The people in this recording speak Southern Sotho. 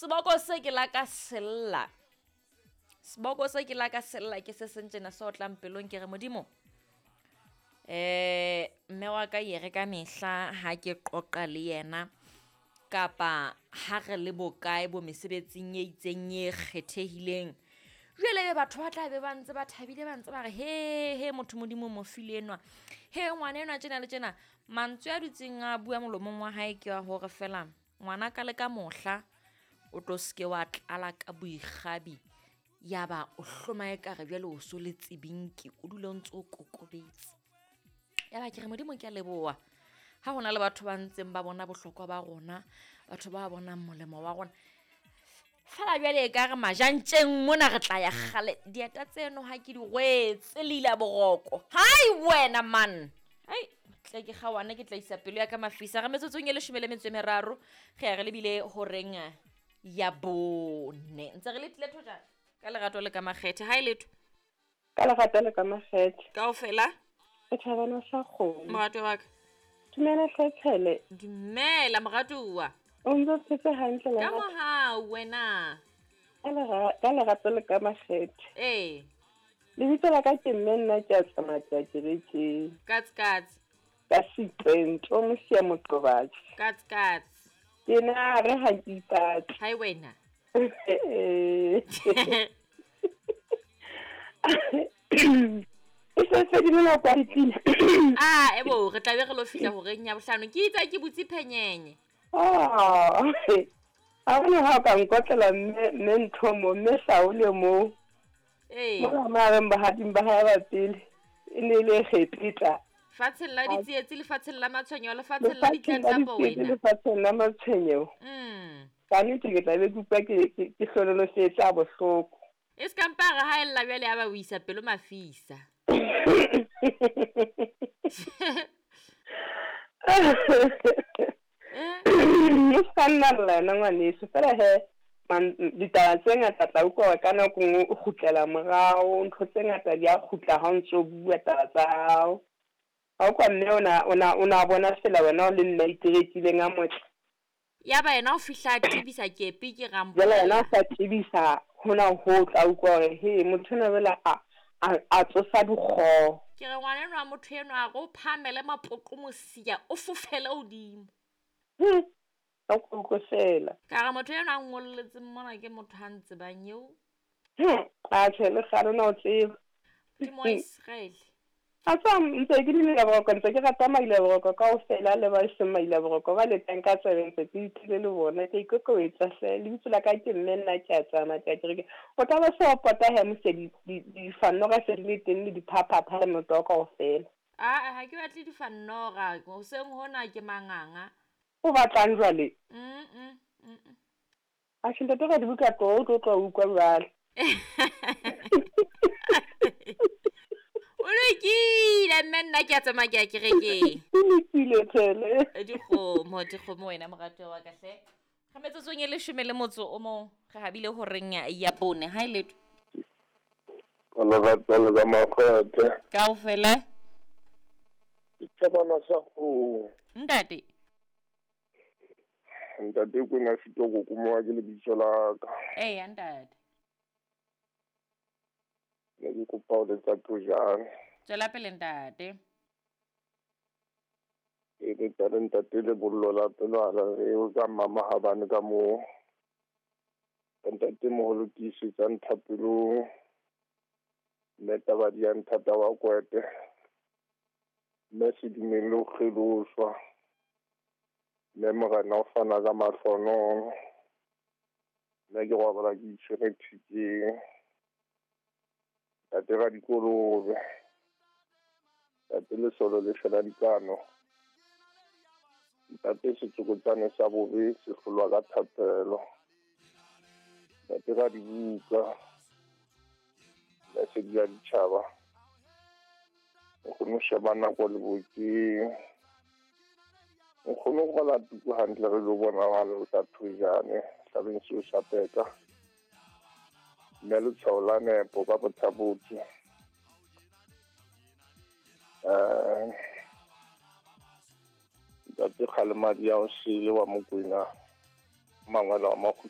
Seboko se ke la ka sella. Seboko se ke la ka sella ke se seng tjena se otlang pelong ke re modimo. Mme wa ka ye re ka mehla ha ke qoqa le yena kapa ha re le bokae bo mesebetsing e itseng e kgethehileng. Jwale ebe batho ba tla be ba ntse ba thabile ba ntse ba re he he motho modimo o mo file enwa. He ngwana enwa tjena le tjena. Mantswe a dutseng a bua molomong wa hae ke wa hore fela ngwana ka le ka mohla o tlo seke wa tlala ka boikgabi. Ya ba o hloma ekare jwale o so le tsebinki, o dule o ntso o kokobetse. Ya ba ke re modimo ke a leboha. Ha hona le batho ba ntseng ba bona bohlokwa ba rona, batho ba bonang molemo wa rona. Fela jwale ekare majantjeng mona re tla ya kgale. Dieta tseno ha ke di rwetse le ila boroko. Hai wena man. Hai, tle ke kgaohane ke tla isa pelo ya ka mafisa. Re metsotsong e 13 re ya re lebile horeng ya 4. Ntse re le tlile thojana ka lerato le ka makgethe. Hai letho. Ka lerato le ka makgethe. Kaofela. E thabana sa kgomo. Morato wa ka. Dumela hle. Dumela moratuwa. O ntse o phetse hantle Ka mohau wena. Ka lerato le ka makgethe. Ee. Lebitso la ka ke mme nna ke a tsamaya ke ya kerekeng. Katse katse. Ka Setseng, tlo mosia moqobatsi. Katse katse. Ke na re ha ke ipatla. Hai wena. E se fedile nako ya dipina. Ah, ebo re tla be re lo fihla horeng ya 5. Ke itse ke butse phenyenye. Ah. Ha hona ha ka nkotlela mme ntho mo mme Saule mo. Ee. Mona mareng bahading ba hae ba pele e ne le Egepeta. Fatsheng la ditsietsi, lefatsheng la matshwenyeho, lefatsheng la ditlatlapo wena. Lefatsheng la matshwenyeho. Ka nnete ke tla be ke utlwa ke hlonolofetse a bohloko. E se ka mpa re haella jwale ya ba o isa pelo mafisa. O ska nna lla yena ngwaneso fela he ditaba tse ngata tla utlwa hore ka nako nngwe o kgutlela morao, ntho tse ngata di a kgutla ha o ntso bua taba tsa hao. Ha o kwa mme o na bona fela wena o le mme a iterekileng a motle. Ya ba yena o fihla a tebisa kepi ke rampo. Jwale yena o sa tebisa hona ho tla utlwa hore he motho enwa jwale a tsosa dikgoho. Ke re ngwana enwa motho enwa a re o phahamele mapoqo mosia o fofele hodimo. Ka utlwe fela. Ka re motho enwa a ngolletseng mona ke motho a ntsebang eo. Atjhe le kgale na o tseba. Ke mo Israel. A tswa ntse ke le boroko, ntse ke rata maila boroko kaofela le ba seng maila boroko ba le teng ka tsebe ntse ke itlile le bona ke ikokobetsa hle. Lebitso la ka ke mme nna ke a tsamaya ke a kereke. O tla ba se o pota he mose difannora se di le teng le diphaphapha le motho kaofela. Ah, ha ke batle difannora, hoseng hona ke manganga. O batlang jwale? Atjhe ntate ka dibuka tlo o tlo utlwa jwale. O lokile mme nna ke a tsamaya ke ya kerekeng. O lokile tshele. Dikgomo wena moratuwa wa ka hle. Re metsotsong e 11 re habile horeng ya 4. Hai letho. Ka lerato le ka makgethe. Kaofela. Ke thabana sa kgomo. Ntate. Ntate ko na fito go kumoa ke lebitso la ka. Ee, ntate. Ne ke kopa ho letsa thojana. Tswela pele ntate. E le tla ntate le bollo la pelwana re o ka mama ha bane ka mo. Ntate moholo tiisetsa nthapelong. Mme taba di ya nthata wa kwete. Mme se dumelle ho kgeloswa. Mme morena o fana ka mahlonono. Mme ke robala ke itshwere thekeng. Ntate ra dikolobe. Ntate lesolo le fela dikano. Ntate setsokotsane sa bobe se hlolwa ka thapelo. Ntate ra dibuka. Lesedi la ditjhaba. Nkgono sheba nako le bokeng. Nkgono go la tuku hantle re lo bona wa le tla thojane hlabeng seo sa peka. Mme letshwao la nepo ka bothabotse. Ntate Kgalemadi ya o sele wa Mokwena, mangwele wa Makgutshwane.